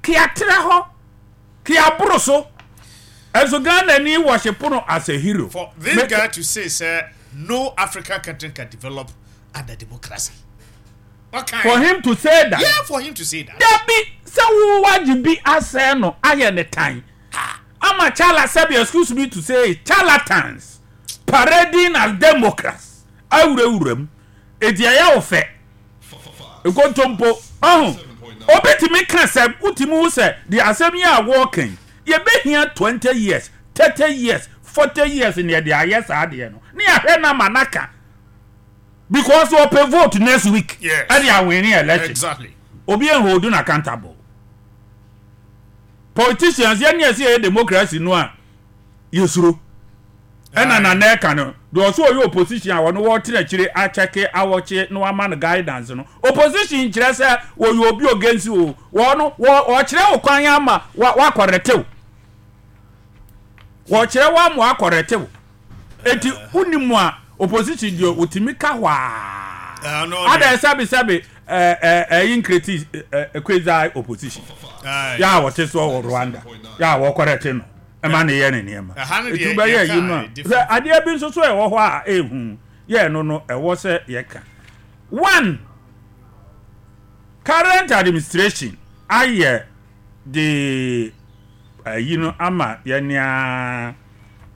Keatra hɔ, keaboro so. Ɛnso Ghana ni worship no as a hero. For this guy to say sɛ no African country can develop under democracy. Okay. For him to say that. Yeah, for him to say that. Dabi sɛ wo wagye bi asɛe no ayɛ ne tan. Ama chala sɛbi, excuse me to say it, charlatans parading as democrats awurawura mu. Eti ɛyɛ wo fɛ. Nkontompo. Ɔho. Obi tumi ka sɛ wotumi hu sɛ deɛ asɛm yi a wɔreka yi yɛbɛhia 20 years, 30 years, 40 years na yɛde ayɛ saa adeɛ no. Ne yɛahwɛ no ama no aka. Because ɔpɛ vote next week. Yes. Ɛde awin election. Exactly. Obi hold no accountable. Politicians yɛn ne yɛsɛ yɛyɛ democracy no a yɛsuro. Ɛna nana ɛka no deɛ ɔsɛ ɔyɛ opposition a ɔno wɔtena akyire akyɛke awɔkye na wama no guidance no. Opposition nkyerɛ sɛ wɔyɛ obi against o. Wɔn wɔ ɔkyerɛ wo kwan ama wa wakɔrɛtew. Wɔkyerɛ wo ama wakɔrɛtew. Eti wonim a opposition deɛ otumi ka hɔ a. Ada sɛbi sɛbi ɛɛ ɛyi nkreti ɛɛ quasi opposition. Yɛ a wɔte soɔ wɔ Rwanda. Yɛ a wɔkɔrɛte no. Ɛma ne yɛ ne nneɛma. Eti wobɛyɛ yi no a sɛ adeɛ bi nso so ɛwɔ hɔ a ehu yɛ no no ɛwɔ sɛ yɛka. One, current administration ayɛ de ayi no ama yɛn a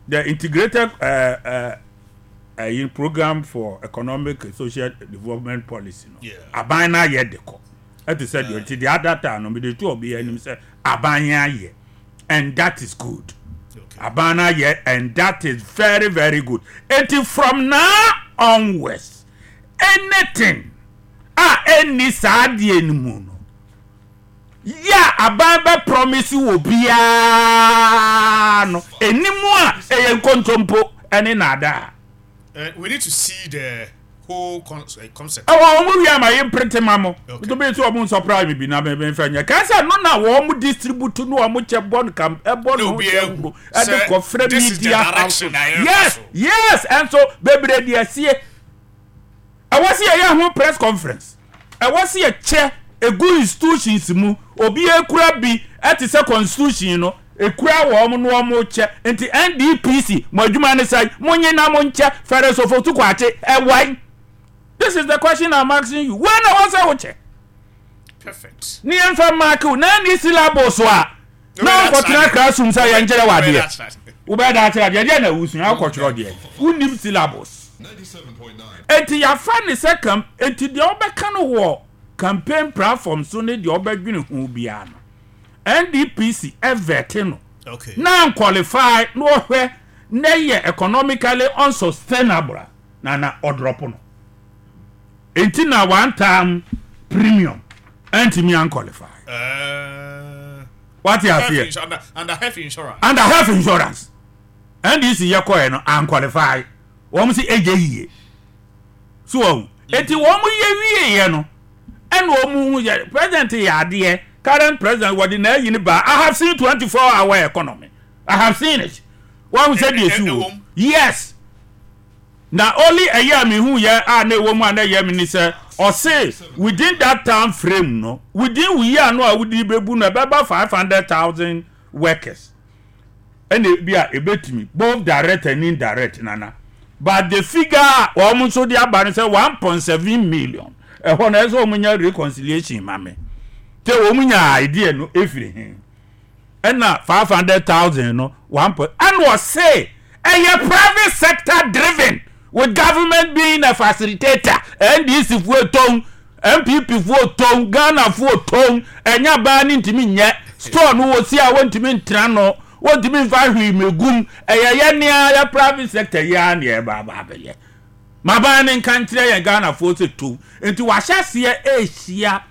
the integrated ayi program for economic and social development policy no aban no ayɛ de kɔ ɛte sɛ deɛ nti deɛ adata no mede to ɔbea anim sɛ aban yɛn ayɛ and that is good. Aban no ayɛ and that is very very good. Eti from now onwards anything a ɛnni saa adeɛ no mu no yɛ a aban bɛ promise wɔ biara no ɛni mu a ɛyɛ nkontompo ɛne naadaa. We need to see the whole concept. Ɛwɔ wɔn wi ama yɛ mprinte ma mo. Nti bi nso wɔn nsɔpra mi bi na mi nfɛ nyɛ. Kan sɛ no na wɔn distribute no wɔn kyɛ bɔ no kam ɛbɔ no kyɛ wuro ɛde kɔ frɛ media house. Yes yes, ɛnso bebree de asie. Ɛwɔ sɛ yɛyɛ ho press conference. Ɛwɔ sɛ yɛkyɛ egu institutions mu. Obi ekura bi ɛte sɛ constitution no ekura wɔn no wɔn kyɛ. Nti NDPC mo adwuma ne sɛ mo nye na mo nkyɛ Ferris Ofosu Kwakye ɛwai. This is the question I'm asking you. Wei na ɛwɔ sɛ wokyɛ. Perfect. Ne yɛn fɛ mark wo na ni syllabus a na nkɔtena classroom sɛ yɛn kyerɛ wɔ adeɛ. Wobɛyɛ da akyerɛ adeɛ deɛ na wusua akɔtwerɛ deɛ. Wonim syllabus. Enti yɛafa ne sɛ kam enti deɛ wobɛka no wɔ campaign platform so ne deɛ wobɛdwene ho biara no NDPC ɛvɛte no na nqualify na ɔhwɛ na ɛyɛ economically unsustainable a na na ɔdrɔpo no. Enti na one time premium ɛntumi anqualify. Wate aseɛ? Under health insurance. Under health insurance. NDC yɛ kɔɛ no anqualify. Wɔn si ɛgye yie. So wɔn. Eti wɔn yɛ wie yɛ no ɛna wɔn hu yɛ president yɛ adeɛ, current president wɔde na ayi ne ba. I have seen 24 hour economy. I have seen it. Wɔn sɛ deɛ esi wɔ. Yes. Na only ɛyɛ a mehu yɛ a na ɛwɔ mu a na ɛyɛ me ni sɛ ɔse within that time frame no within wo year no a wodi bɛbu no ɛbɛba 500,000 workers ɛna ebi a ebetumi both direct and indirect nana but the figure a wɔn nso de aba no sɛ 1.7 million ɛhɔ no ɛsɛ wɔn nya reconciliation ma me te wɔn nya idea no efiri he ɛna 500,000 no one point ɛna ɔse ɛyɛ private sector driven with government being a facilitator. NDC foɔ tɔn, NPP foɔ tɔn, Ghana foɔ tɔn, ɛnya baa ne ntumi nyɛ store no wɔ si a wɔntumi ntena no wɔntumi nfa hwee megum ɛyɛ yɛ nea yɛ private sector yi ara na ɛba aba abɛyɛ maban ne nka nkyerɛ yɛn Ghana foɔ sɛ tɔn nti wahyɛ aseɛ ɛrehyia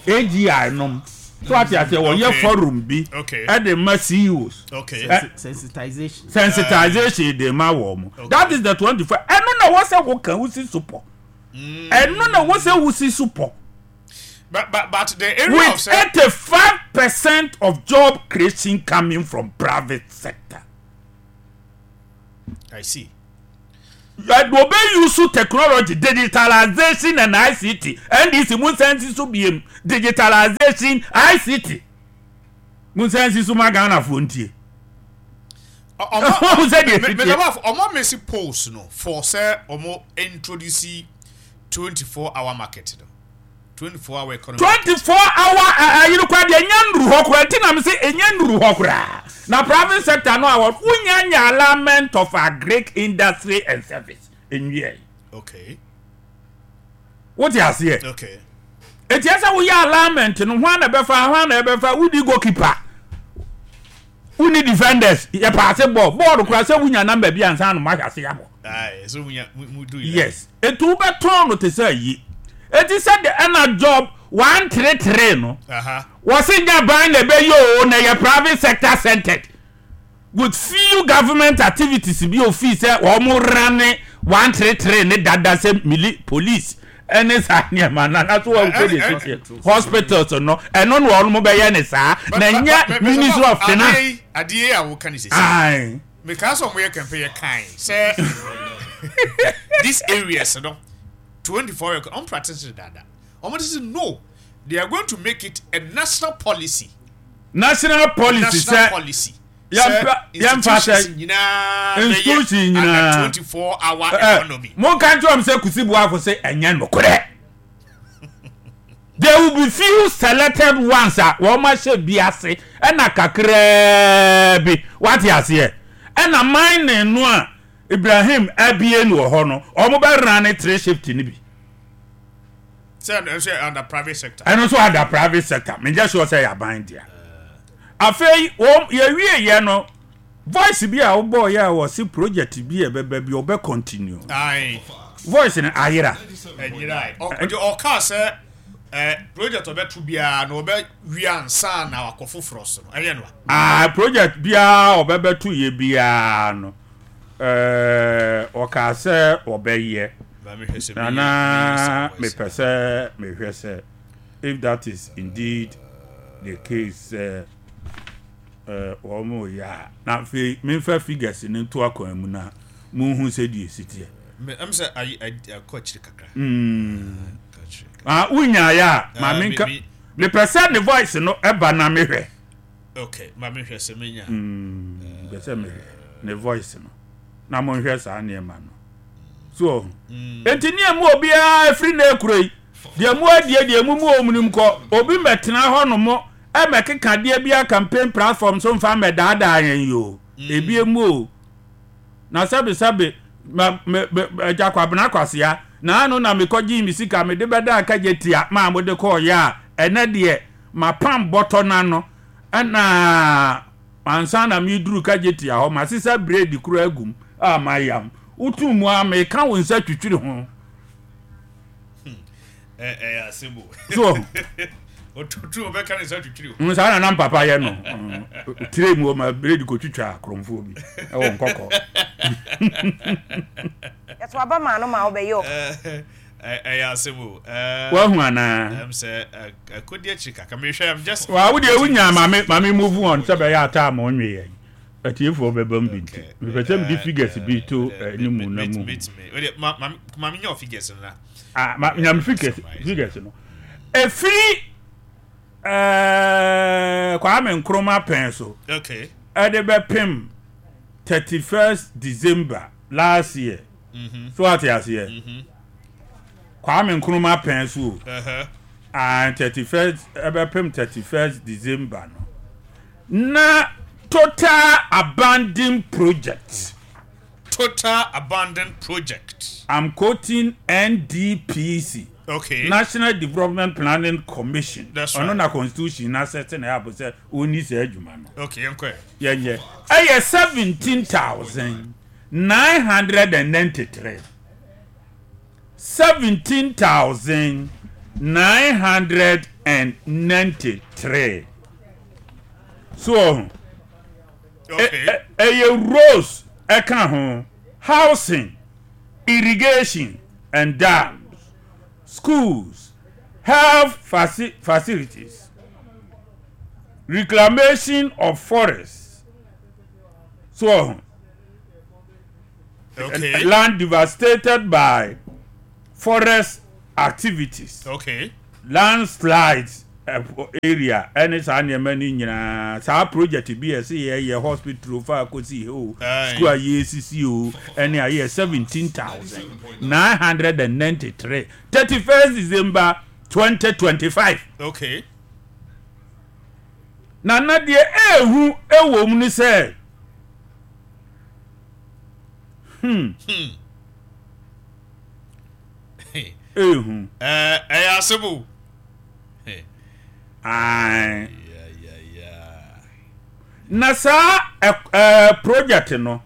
AGI nom so ate aseɛ wɔyɛ forum bi ɛde ma CEOs sensitization sensitization de ma wɔn mo. That is the 24 ɛno na wɔ sɛ woka wosi so pɔ ɛno na wɔ sɛ wosi so pɔ. But the area with 85% of job creation coming from private sector. I see. Obe use technology, digitalization and ICT. NDC mu nsansi so biem digitalization ICT. Monsan nsi so ma Ghanafoɔ ntie. Ɔmo sɛ deɛ ɛsi teɛ. Ɔmo mesi polls no for sɛ ɔmo introduce 24 hour market no. 24 hour economy. 24 hour ayi no koraa deɛ ɛnya nnuru hɔ koraa nti na me se ɛnya nnuru hɔ koraa. Na private sector no a wonya nya alignment of agric industry and service nwiɛ. Okay. Wote aseɛ? Okay. Eti ɛsɛ woyɛ alignment no hwan na ɛbɛfa hwan na ɛbɛfa wodi goalkeeper wonni defenders yɛ paase bɔɔl bɔɔl koraa sɛ wonya number bi ansa na moahyɛ ase abɔ. Aye, so munya mu do Yes. Eti wobɛtɔn no te sɛ ayi. Eti sɛ de ɛna job 133 no. Wɔsi nya ban na ɛbɛyɛ o na ɛyɛ private sector centered. With few government activities bi ofii sɛ wɔn rane 133 ne dada sɛ mili police ɛne saa nneɛma no anaso wɔn sɛ deɛ ɛsi teɛ hospitals no ɛno na wɔn bɛyɛ ne saa na nyɛ ministry of finance. Adeɛ a woka ne sisi. Aye. Mekaa sɛ wɔn yɛ campaign yɛ kan sɛ these areas no 24 hour wɔn practice dada wɔn ti sɛ no they are going to make it a national policy. National policy sɛ national policy. Yɛmfa yɛmfa sɛ institution nyinaa 24 hour economy. Monka nkyerɛ wɔn sɛ Kusi Boafo sɛ ɛnyɛ nokorɛ. There will be few selected ones a wɔn ahyɛ bi ase ɛna kakraa bi wate aseɛ ɛna mining no a Ibrahim abie no wɔ hɔ no wɔn bɛ run three shift no bi. Sɛ ɛno nso yɛ under private sector. Ɛno nso under private sector menyɛ sure sɛ yɛ aban dea. Afei wɔn yɛwie yɛ no voice bi a wobɔɔ yɛ a wɔse project bi a ɛbɛba bi ɔbɛ continue. Aye. Voice no ayera. Ɛnyera. Ɔkaa sɛ eh, project ɔbɛto biara na ɔbɛ wie ansa na wakɔ foforɔ so no ɛyɛ no a. Ah, project biara ɔbɛbɛto yɛ biara no eh, ɔkaa sɛ ɔbɛyɛ. Na na mepɛ sɛ mehwɛ sɛ if that is indeed the case sɛ eh, wɔn reyɛ a na afei memfa figures no nto akwan mu na monhu sɛdeɛ ɛsi teɛ. Ɛm sɛ ayi akɔ akyiri kakra. Ah, wonyaeɛ a ma menka mepɛ sɛ ne voice no ɛba na mehwɛ. Okay, ma mehwɛ sɛ menya. Mepɛ sɛ mehwɛ ne voice no na monhwɛ saa nneɛma no. So ɔho. Enti ne ɛmu obiara ɛfiri na ekuro yi, deɛ mu adie deɛ mu mu ɔmunim kɔ, obi mmɛtena hɔ nom ɛmɛkeka deɛ bi a campaign platform so mfa mmɛdaadaa yɛn yi o. Ebi emu o. Na sɛbe sɛbe, ma me me agya Kwabena Kwasea, na ano na mekɔgyee me sika mede bɛdaa kagye tia maa mode kɔɔyɛ a, ɛnɛ deɛ mapam bɔtɔ no ano ɛna Ansa na mereduru Kajetia hɔ, masesa bredi koro agu mu a mayam. Woto mu ara, meka wo nsa twitwiri ho. Ɛyɛ asɛm o. So Otutu ɔbɛka ne nsa twitwiri ho. Saa na na mpapa yɛ no. Tire mu ɔma bredi kotwitwa akorɔmfoɔ bi ɛwɔ nkɔkɔ. Yɛto aba maa no ma ɔbɛyɛ o. Ɛyɛ asɛm o. Wahu anaa? Ɛm sɛ ɛkɔdi akyiri kakra. Mehwɛ I'm just. Wa wo deɛ wonya ma me ma me move on sɛ bɛyɛ ataa ma ɔnwe yɛn. Atiefoɔ bɛba mu bi nti. Mepɛ sɛ mede figures bi to anim na mu. Ma me nya figures no na. Ah, ma nya me figures figures no. Ɛfiri ɛɛ Kwame Nkrumah pɛn so. Okay. Ɛde bɛpem 31st December last year. So ate aseɛ? Kwame Nkrumah pɛn so o. And 31st ɛbɛpem 31st December no. Na total abandoned project. Total abandoned project. I'm quoting NDPC. Okay. National Development Planning Commission. That's right. Ɔno na constitution na sɛte na ɛabɔ sɛ ɔnni saa adwuma no. Okay, yɛnkɔ ɛ. Yɛnyɛ. Ɛyɛ 17,000. 993. 17,993. So ɔho. Ɛyɛ roads ɛka ho, housing, irrigation and dams, schools, health faci facilities, reclamation of forests. So ɔho. Okay. Land devastated by forest activities. Okay. Landslides. Area ɛne saa nneɛma no nyinaa, saa project bi a ɛsɛ yɛyɛ hospital fa akɔsi hɛ o, school a yɛsisi o, ɛne a yɛ 17,993 31st December 2025. Okay. Na na deɛ ɛɛhu ɛwɔ mu ne sɛ Ehu. Ɛyɛ asɛm o. Ae. Na saa ɛɛ project no.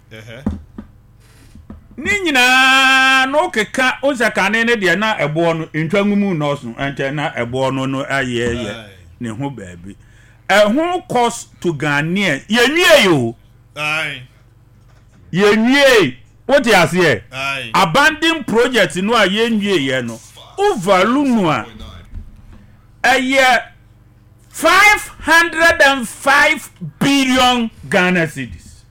Ne nyinaa no keka nsɛ kane ne deɛ na ɛboɔ no ntwa ngumu nɔɔso nkyɛn na ɛboɔ no no ayɛ yɛ ne ho baabi. Ɛho cost to Ghanaian yɛnwie o. Yɛnwiei, wote aseɛ? Abandon project no a yɛnwieɛ no, wo value no a, ɛyɛ 505 billion Ghana cedis.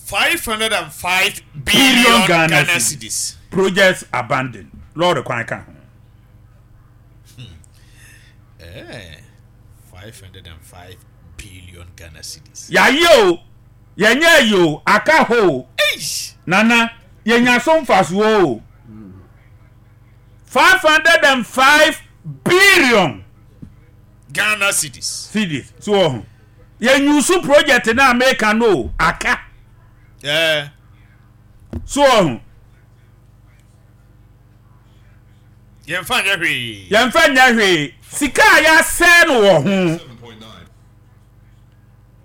505 billion Ghana cedis. Projects abandoned, lɔɔre kwan ka ho. 505 billion Ghana cedis. Yɛayɛ o. Yɛnyɛ ayi o, aka hɔ o. Nana, yɛnya so mfasoɔ o. 505 billion. Ghana cedis. Cedis, so wɔ ho. Yɛnyusu project no a meka no o, aka. Yeah. So wɔ ho. Yɛmfa nyɛ hwee. Yɛmfa nyɛ hwee. Sika a yɛasɛe no wɔ ho.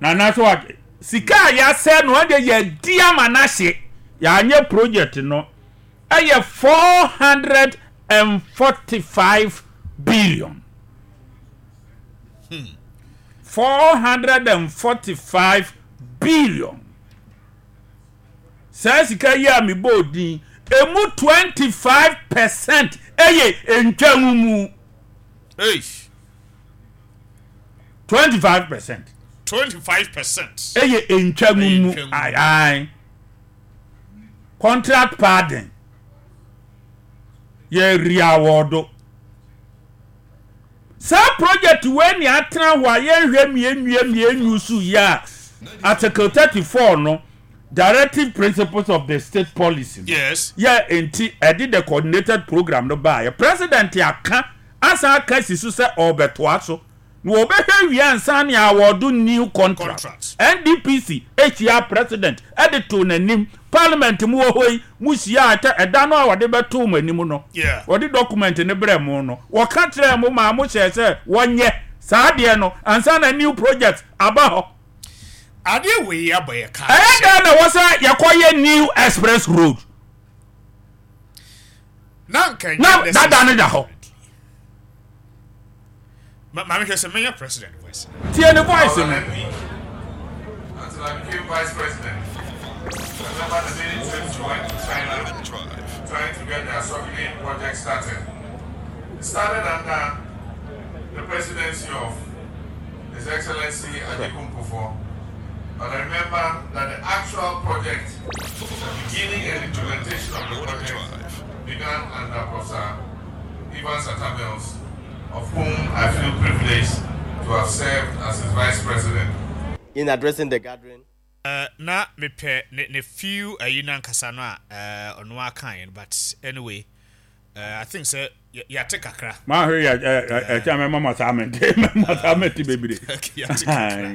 Nana so ate sika a yɛasɛ no ɛdeɛ yɛadi ama no ahye yɛanyɛ project no ɛyɛ 445 billion 445 billion saa sika yi a mebɔɔ din emu 25% ɛyɛ ntwamumu. Eish. 25%. 25%. Ɛyɛ ntwa mu mu ayi contract pardon yɛ riawɔdo saa project wei ni atena hɔ a yɛnhwɛ mmienwie mmienu so yi a article 34 no directive principles of the state policy no yes yɛ nti ɛde the coordinated program no baayɛ president aka asan aka si so sɛ ɔrebɛtoa so na wɔbɛhwɛ wie ansa ne awɔdo new contract. NDPC hyiaa president de too n'anim, parliament mu wɔ hɔ yi, mo hyiaa kyɛ ɛda no a wɔde bɛtoo mo anim no, wɔde document no brɛɛ mo no, wɔka kyerɛɛ mo maa mo hyɛɛ sɛ wɔnyɛ saa adeɛ no ansa na new project aba hɔ. Adeɛ wei abɔ yɛ ka. Ɛyɛ dɛn na ɛwɔ sɛ yɛkɔyɛ new express road? Na nka ɛnyɛ Na dada no da hɔ. Maame hwɛ sɛ mɛnya president voice. Tie ne voice no. Until I became vice president. I remember the many trips we went to China trying to get the Asogli project started. It started under the presidency of His Excellency Agyekum Kufuor. But I remember that the actual project, the beginning and implementation of the project began under Professor Evans Atta Mills, of whom I feel privileged to have served as his vice president. In addressing the gathering. Na mepɛ ne ne few ayi no ankasa no a ɔno ara kaeɛ no but anyway I think sɛ yɛate kakra. Maa hwɛ yɛ ɛ ɛkyɛn mɛma ma saa mɛnti mɛma saa mɛnti bebree. Yɛate kakra.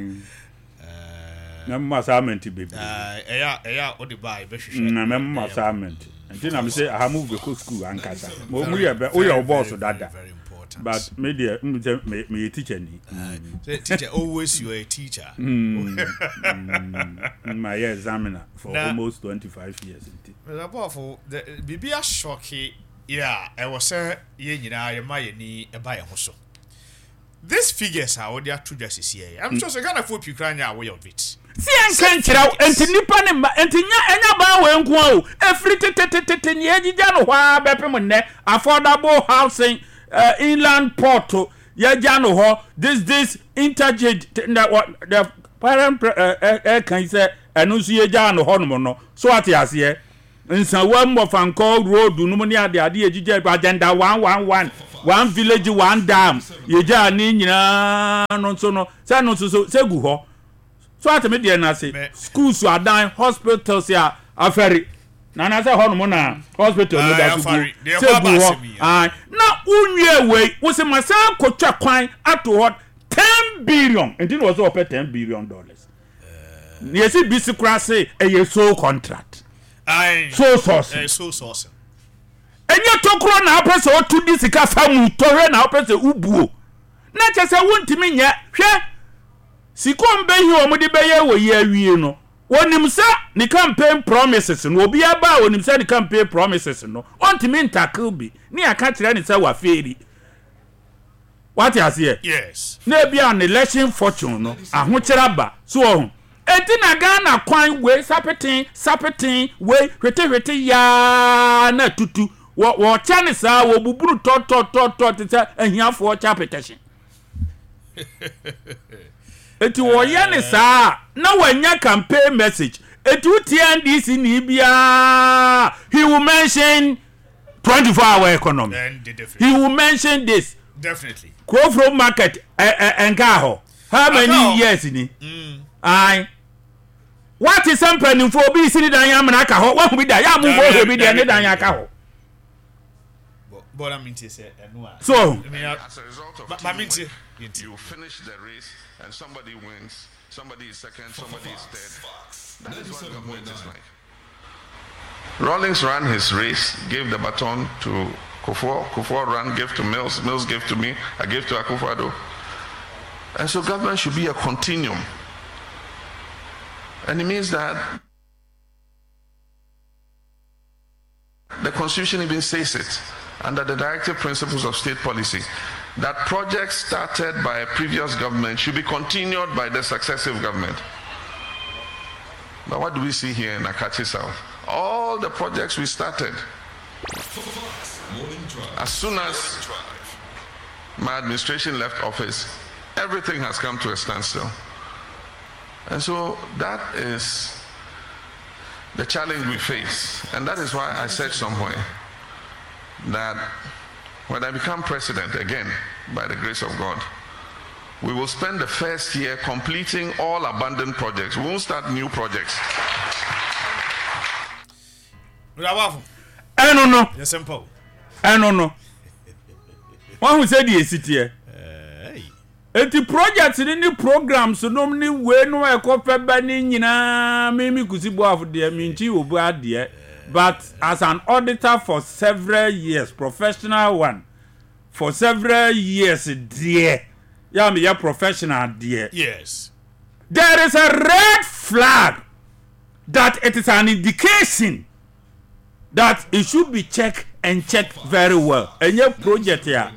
Mɛma saa mɛnti bebree. Ɛyɛ ɛyɛ a ɔde ba a yɛbɛhwehwɛ. Na mɛma saa mɛnti nti na mesɛ aha mu bɛkɔ sukuu ankasa. Mo mu yɛ bɛ woyɛ wo bɔɔso dada. But me deɛ m sɛ meyɛ teacher ni. Teacher always you are a teacher. Mayɛ examiner for almost 25 years nti. Mr. Bɔfo, biribi asɔke yɛ a ɛwɔ sɛ yɛn nyinaa yɛma yɛn ani ba yɛn ho so. This figures a wɔde ato dwa sisi yɛ, I'm sure sɛ Ghanafoɔ pii koraa nyɛ aware of it. Si yɛnka nkyerɛ wo, enti nnipa ne mma, enti nya ɛnyɛ baa wei nko ara o, ɛfiri tetetetete nea yɛgyigya no hɔ ara bɛpem nnɛ, affordable housing, uh, inland port, yɛgya no hɔ, this this interchange, na the parent ɛka yi sɛ ɛno nso yɛgya no hɔ nom no, so ate aseɛ. Nsawa Mmɔfankɔ road no mu ne ade ade yɛgyigya agenda 111 one village one dam yɛgyaa ne nyinaa no nso no sɛ no nso so sɛ gu hɔ so ate me deɛ no ase schools adan hospitals a afɛre na na sɛ hɔnom na hospital no da so gu sɛ gu hɔ na wonwie wei wo sɛ ma san kɔtwa kwan ato hɔ 10 billion nti na wɔ sɛ wɔpɛ $10 billion. Na yɛsi bi si koraa se ɛyɛ sole contract. Sole sourcing. Ɛnyɛ tokuro na wopɛ sɛ wotu di sika fa mu tɔhwɛ na wopɛ sɛ wobuo. Na kyɛ sɛ wontumi nyɛ. Hwɛ, sika wɔn bɛhi wɔn de bɛyɛ wɔ yi awie no, wɔnim sɛ ne campaign promises no, obiara ba a wɔnim sɛ ne campaign promises no, ɔntumi ntackle bi ne yɛaka kyerɛ ne sɛ wafeeri. Wate aseɛ? Yes. Na ebi a ne election fortune no, ahokyere aba. So ɔho. Enti na Ghana kwan wei sapeten, sapeten, wei hwete hwete yaa na tutu. Wɔ wɔkyɛ ne saa, wɔbuburu tɔ tɔ tɔ tɔ te sɛ ahiafoɔ kyɛ apetɛhye. Enti wɔyɛ ne saa na wɔanya campaign message. Enti wotie NDC ni biara, he will mention 24 hour economy. He will mention this. Definitely. Krofrom market ɛnkaa hɔ. How many years ni? Ayi. Wate sɛ mpanimfoɔ obi si ne dan amena aka hɔ. Wahu bi da. Yɛ amu nkɔ hwɛ bi deɛ ne dan aka hɔ. So. As a result of teamwork, you finish the race and somebody wins, somebody is second, somebody is third. That is what government is like. Rawlings ran his race, gave the baton to Kufuor. Kufuor ran, gave to Mills. Mills gave to me. I gave to Akufo-Addo. And so government should be a continuum. And it means that the Constitution even says it, under the directive principles of state policy, that projects started by a previous government should be continued by the successive government. But what do we see here in Akatsi South? All the projects we started, as soon as my administration left office, everything has come to a standstill. And so that is the challenge we face. And that is why I said somewhere that when I become president again, by the grace of God, we will spend the first year completing all abandoned projects. We won't start new projects. Ɛno no, ɛno no, wahu sɛ deɛ ɛsi teɛ. Enti project no ne programs nom ne wei nom a ɛkɔ fɛ ba ne nyinaa me me Kusi Boafo deɛ menkyi obi adeɛ but as an auditor for several years professional one for several years deɛ yɛ a meyɛ professional deɛ Yes. there is a red flag that it is an indication that it should be checked and checked very well. Ɛnyɛ project a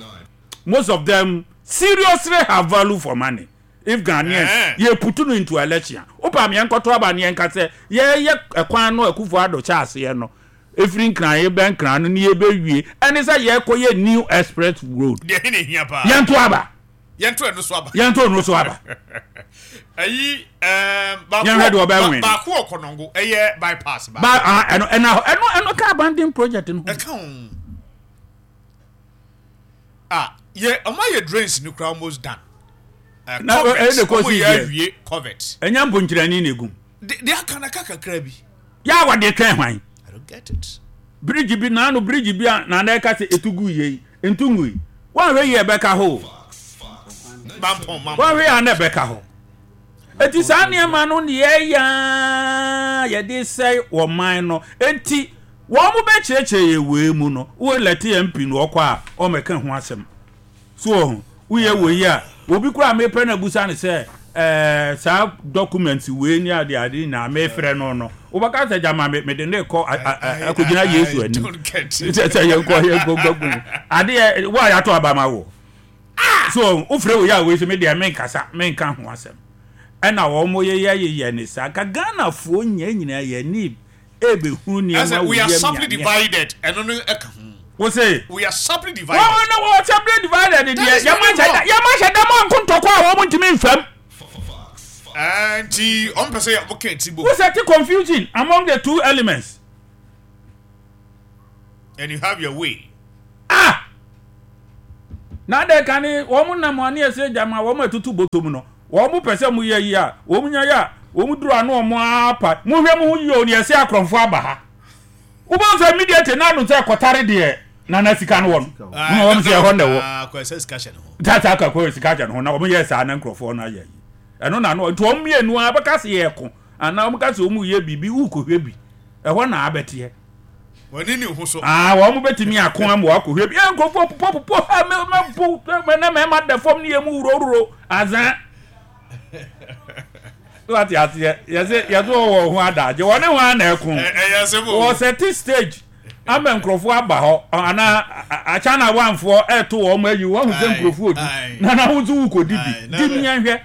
most of them seriously have value for money. If Ghanaians Eh. yɛ put no into election, wopa mi yɛnkɔto aba ne yɛnka sɛ yɛyɛ ɛkwan no Akufo Addo kyɛ aseɛ no efiri Nkran yɛbɛ Nkran no ne yɛbɛwie ɛne sɛ yɛkɔ yɛ new express road. Deɛ he na ehia paa. Yɛnto aba. Yɛnto ɛno so aba. Yɛnto ɛno so aba. Ɛyi ɛɛm baako Yɛnhwɛ deɛ ɔbɛn win. baako wɔ Kɔnɔngo ɛyɛ bypass baako. Ba ah ɛno ɛna ɛno ɛno ka abandon project no ho. Ɛka ho. Ah yɛ ɔmo ayɛ drains no kura almost done. Na Covert ɛyɛ de kɔ ɔmo si yɛ deɛ. awie covert. Ɛnyɛ mponkyerɛni na egum. De de aka na ka kakra bi. Yɛ a wɔde twɛn hwan? I don't get it. Bridge bi naano bridge bi a na na ɛka sɛ etu gu yie yi ntu ngu yi. Wɔnhwɛ yie ɛbɛka hɔ o. Mampɔn mampɔn. Wɔnhwɛ yie a na ɛbɛka hɔ. Eti saa nneɛma no ne yɛyɛ a yɛde sɛe ɔman no. Eti wɔn mo bɛkyerɛkyerɛ yɛ wei mu no, wo elect MP no ɔkɔ a ɔmmɛka ho asɛm. So wɔ ho, woyɛ wei a, obi koraa mepɛ no abusa no sɛ ɛɛ saa document wei ne ade ade nyinaa mefrɛ no no, wobɛka sɛ gyama me mede ne kɔ akɔgyina Yesu I anim. don't get it. Sɛ sɛ yɛnkɔ yɛnkɔ nkɔ adeɛ wo a yɛato aba ma wo. So wofrɛ wei a wei sɛ me deɛ menkasa menka ho asɛm. Ɛna wɔn yeyɛ yeyɛ ne saa ka Ghanafoɔ nyɛ nyinaa yɛn ani ɛbɛhu nneɛma Ɛsɛ wɔ we are yam sharply nyame. divided ɛno no ɛka ho. Wo se We are sharply divided. wɔn na wɔn sharply divided That deɛ is very yɛma hyɛ da wrong. yɛma hyɛ da ma nko ntɔkwa a wɔn ntumi nfam. Nti ɔmo pɛ sɛ ɔmo ka ti bom. Wo set confusion among the two elements. And you have your way. Ah! Na adɛn ka ne wɔn nam ane ɛsɛ gyama wɔn atutu bɔtɔ mu no, wɔn pɛ sɛ mo yɛ yi a, wɔn nya yɛ a, wɔn duru ano wɔn apa. Mohwɛ mo ho yie o, ne ɛsɛ akorɔmfo aba ha. Wobɛhu sɛ immediately na ano sɛ kɔtare deɛ nana sika no wɔ no. Na wɔn sɛ ɛhɔ na ɛwɔ. Akɔ sika hyɛ ne ho. Tata akɔ sika hyɛ ne ho na wɔn yɛ saa na nkurɔfoɔ no ayɛ yi. Ɛno na ano nti wɔn mmienu a bɛka sɛ yɛko anaa wɔn ka sɛ wɔn yɛ biribi wokɔhwɛ bi. Ɛhɔ na abɛteɛ. Wɔne ne ho so. Ah, wɔn bɛtumi ako ama wakɔhwɛ bi. Ɛ nkurɔfoɔ popɔ popɔ ha mɛ mɛ bo mɛ na mɛma da fam ne yɛ mu wurowuro azan. Wate aseɛ yɛsɛ yɛsɛ wɔ wɔn ho adagye wɔne ho ana ɛko. Ɛyɛ asɛm o. Wɔ sɛte stage ama nkurɔfoɔ aba hɔ anaa akyana wanfoɔ ɛto wɔn ayi wɔn ho sɛ nkurɔfoɔ di na na ho nso wokɔdi bi di mi yɛn hwɛ.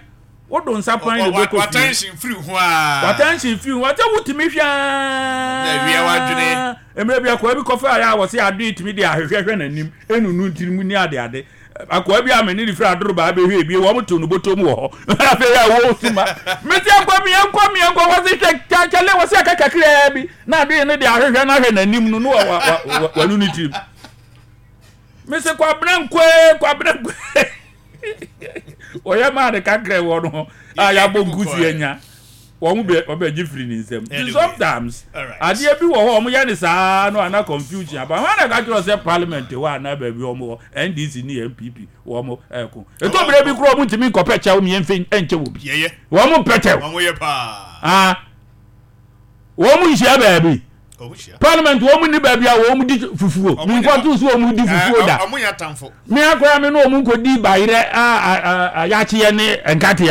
Wodo nsa pan de bɛkɔ fie. W'attention firi ho aa. W'attention firi ho. Sɛ wotumi hwɛ aa. Na awia w'adwene. Mmerɛ bi akoa bi kɔfa ayɛ a wɔse adoe tumi de ahwehwɛ hwɛ n'anim enunu ntiri mu ne ade ade. Akoa bi a me ne ne firi adoro baa bɛhwɛ ebie wɔn to no bɔtɔ mu wɔ hɔ. Afei a wɔresu ma. Mese akoa mi yɛnkɔ mi yɛnkɔ wɔse hwɛ kyale wɔse aka kakraa bi na adoe no de ahwehwɛ no ahwɛ n'anim no no wa wanu ne tirim. Mese kwabena nkoe kwabena nkoe. Wɔyɛ maa ne kakra wɔ no a yɛabɔ nkusi anya wɔn bɛ ɔbɛgye firi ne nsam. Nti sometimes adeɛ bi wɔ hɔ wɔn yɛ ne saa no ana confusion aba. Wɔn na ɛka kyerɛ sɛ parliament hɔ anaa baabi wɔn wɔ NDC ne NPP wɔn ɛko. Eto bere bi kura wɔn ntumi nkɔpɛ kyɛw mmiɛnfɛ nkyɛ wɔ bi. Wɔn mpɛ kyɛw. Wɔn yɛ paa. Ah. Wɔn nhyia baabi. Parliament wɔn ni baabi a wɔn di fufuo. Nkɔto so wɔn di fufuo da. Wɔn yɛ atamfo. Me akora me ne wɔn nkɔdi bayerɛ a a a yakyeɛ ne nkateɛ.